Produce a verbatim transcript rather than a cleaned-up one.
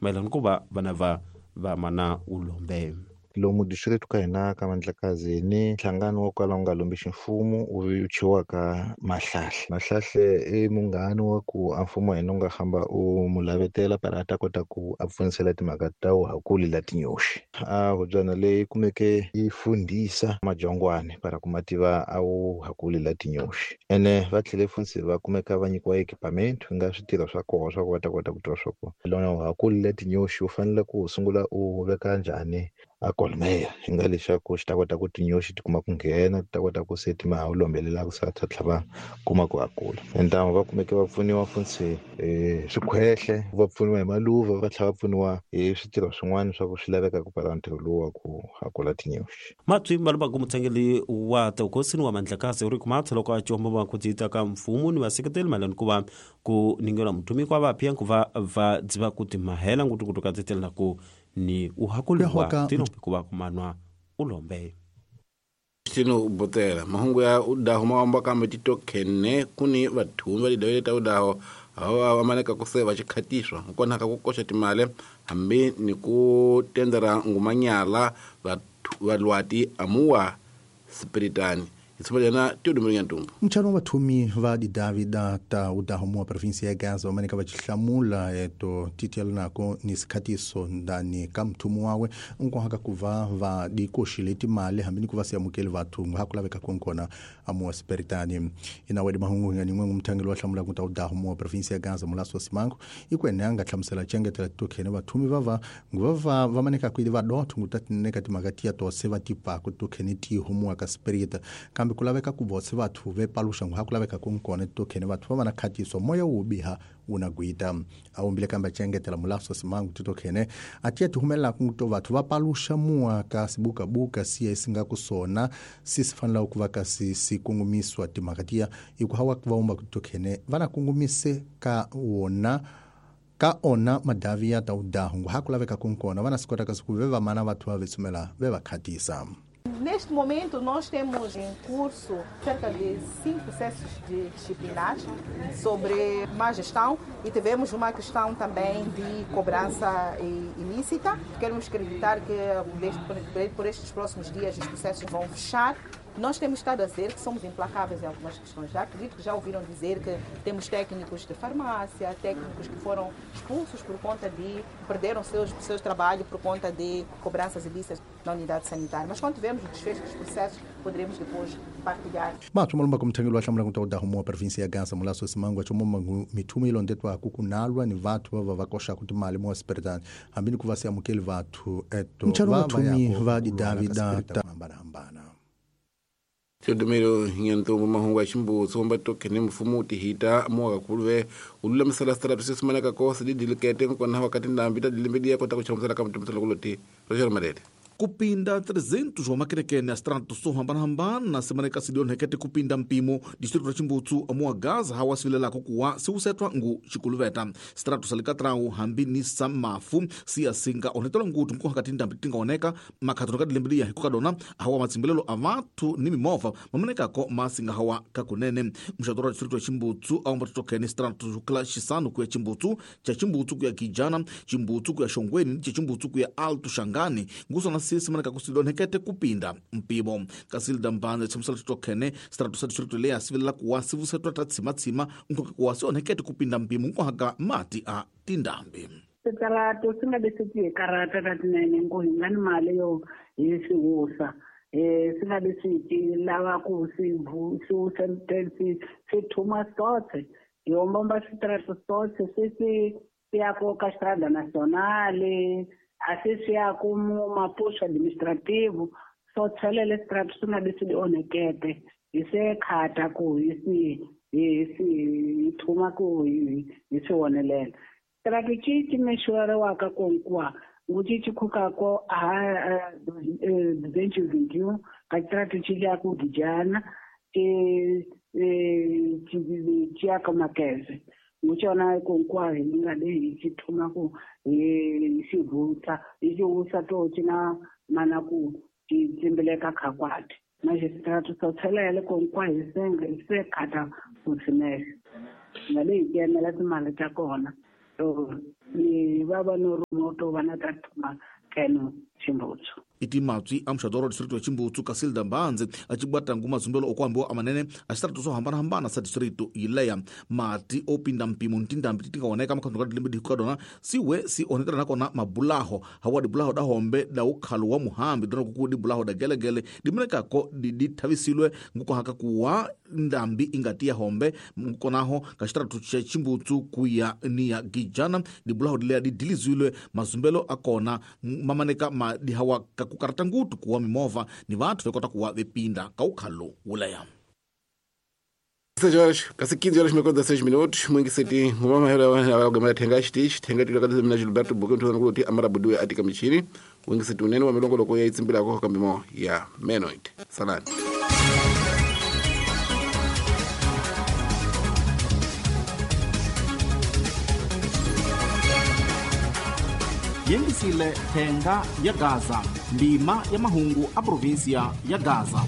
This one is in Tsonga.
Mayelana ku va vana va va mana ulombe. Lomu distrito ka hina ka Mandlakazi ni nhlangano wo kala wu nga lombi ximfumo wu thyiwaka Mahlahle. Mahlahle i munghana wa ku a mfumo wa hina wu nga hamba u mu lavetela para a ta kota ku a pfunisela timhaka ta wuhakuli la tinyoxi. A hubyana leyi kumeke yi fundhisa majongwane para ku ma tiva a wuhakuli la tinyoxi. Ene va tlhele funtsi va kumeka va nyikiwa equipment ku nga switirho swa koho swa ku va ta kota ku tiva swa ku lona wuhakuli la tinyoxi u fanele ku u sungula u veka njhani a kolmeya hi nga leswaku xi ta kota ku tinyoxi ti kuma ku nghena ti ta kota ku se ti ma lombelelaka se ta tlhela va kuma ku hakula. Entamu va kumeke va pfuniwa funtsi hi swikhwehle, va pfuniwa hi maluva, va tlhela va pfuniwa hi switirho swin'wana swa ku swi lavekaka kwala ntirho lowu wa ku hakula tinyoxi. Matswi malumbaku mutshangeli wa Tewukosini wa Mandlakazi uri kumatsa loko a comba va ku dzita ka mfumo ni vaseketeli mayelana ku va ku ningela muthumi kwa vapya ku va va dziva ku timahela ngutukutu ka titelela ku ni uhakuliwa tino kuva kumanwa ulombe. Tino botela mahungu ya udaho mawamba kambe titokhene kuni vathumi va lidawile ta udaho hawa vamaneka ku se va xikhatiswa nkona ka ku koxa timali hambi ni ku tendera ngumanyala valwati amuwa spiritani. Isipojana Teodomiro Nyantumbu. Mchano vathumi va didavida ta udaho mua provinsia ya Gaza vamanika vachihlamula eto titiela nako ni sikhatiso ndani ka mthumu wawe nkohaka kuva va dikoxile timali hambi ni ku va siamukeli vathu hakulaveka konkona amuwa spiritani. Inawedi mahungu ngani n'we mthangeli wa hlamula kuta udaho mua provinsia ya Gaza Mulaso Simango ikwene anga hlamusela chengetela tokhene vathumi vava nguvava vamanika kwili vadotho ngutatineka timhaka tiya tose va tipaku tokhene tiho mua ka spirita kambe kulaveka ku votse vathu ve paluxa ngu hakulaveka kunkona tokhene vathu va va na khatiso moya wo biha wu na gwita. A wumbile kambe chengetela Mulaso Simango titokhene a tiya ti humelelaku to vathu va paluxa mua ka sibukabuka siya si nga ku sona si si fanelaka ku va ka si si kungumiswa timhaka tiya hi ku hawa va wumba ku tokhene va na kungumise ka wona ka ona madavi ya ta udahu ngu hakulaveka kunkona va na swi kota kasi ku ve va mana vathu va vetsumela ve va khatisa. Neste momento, nós temos em curso cerca de cinco processos de disciplinares sobre má gestão e tivemos uma questão também de cobrança ilícita. Queremos acreditar que por estes próximos dias os processos vão fechar. Nós temos estado a dizer que somos implacáveis em algumas questões. Já acredito que já ouviram dizer que temos técnicos de farmácia, técnicos que foram expulsos por conta de... perderam seus, seus trabalho por conta de cobranças ilícitas na unidade sanitária. Mas quando tivermos o desfecho dos processos, poderemos depois partilhar. Mathu malumba kumthengeli wa hlamula kuta udaho mua provinsia ya Gaza Mulaso Simango achomoma mithumo ilondetwa kukunalwa ni vathu va va koxaka timali mua spiritani hambi ni ku va siamukeli vathu eto mchano vathumi va didavida ta hambana-hambana. Teodomiro Nyantumbu mahungu ya ximbutsu wamba tokhene mfumo wu tihita muwa kakhulu wu lulamisela switarata swi simaneka ko swi didilikete nkona wakati ndhambi ta dilembe diya kota ku chamusela ka mutimisela kuloti Roger Malete. Kupinda trezentos wa makerekene a strato so hambana-hambana simaneka sidionhekete kupinda mpimo distrito ra Chimbutsu amuwa Gaza hawa sivilelako kuwa siwusetwa ngu xikuluveta strato sa likatrawu hambi ni sa mafu siya singa onhetela ngutu nkohaka tindhambi tinga oneka makhato ka dilembe liya hikukadona hawa matsimbelelo a vathu ni mimovha mamanekako masinga hawa kakunene. Muxato ra distrito ya Chimbutsu awamba titokhene strato xukela xisanu kuya Chimbutsu cha Chimbutsu kuya Kijana Chimbutsu kuya Xongweni ni cha Chimbutsu kuya Alto Xangani ngusona simaneka kusilonhekete kupinda mpimo. Kasilda Mbanze tshamusela titokhene strato sa distrito leya sivilela kuwa sivusetwa ta tshimatsima nkoka kuwa sionhekete kupinda mpimo nkohaka mati a tindhambi. Switalato swi nga leswi hi karata ta tinene ngo hi nga ni mali yo hi swi wusa eh swi nga leswi ti lava ku swi swi wusa swi swi thuma sotse hi ombomba switalato sotse swi swi ya ko ka Estrada Nacional asi swi ya ku mapuso administrativo so tshelele strato swi nga leswi di onhekete hi se khata ku hi swi hi swi hi thuma ku hi hi swi onelela. Strato ci ci mexeriwaka konkuwa ngu ci ci khukako a duzentos e vinte e um ka strato ci ya ku Gijana ci ci ci ya ka Makeze nguchona konkuwa hi nga leyi ci thuma ku hi xi vutsa hi xi wusa to ci na mana ku ci tsimbileka khakwati magistrato so tshelele konkuwa hi senga hi se khata ku swimexa nga leyi ti enela timali ta kona. So ni va va no ruma to va na ta thuma keno Chimbutsu. Iti matswi a muxadoro wa distrito ya Chimbutsu Casilda Mbanzi a cibwata ngu mazumbelo okuambiwa amanene a xitaratu swo hambanahambana sa distrito yileya mati opinda mpimo ntindambi ti nga oneka makhando ka dilembe dihiko ka dona siwe si onetela nakona mabulaho hawa dibulaho da hombe da ukhalo wa muhambi dona kuku dibulaho da gelegele dimenekako dithavisilwe ngukohaka kuwa ndambi ingati ya hombe ngukonaho ka xitaratu xa Chimbutsu kuya ni ya Gijana dibulaho dileya didilizilwe mazumbelo akona mamaneka ma dihawa ka kukarata ngutu kuwa mimova ni vathu vekota kuwa vepinda ka ukhalo wuleya. seis horas, quase quinze horas, meio dezesseis minutos. Muito seti, ngoma hela wa gamela thenga xitichi, thenga tilo ka mina Gilberto Buke ntho ngulu ti amara buduwe atika michini. Wingi seti unene wa milongo loko ya itsimbila ko kambimo ya menoid. Salani. Yengisile thenga ya Gaza, ndima ya mahungu a provinsia ya Gaza.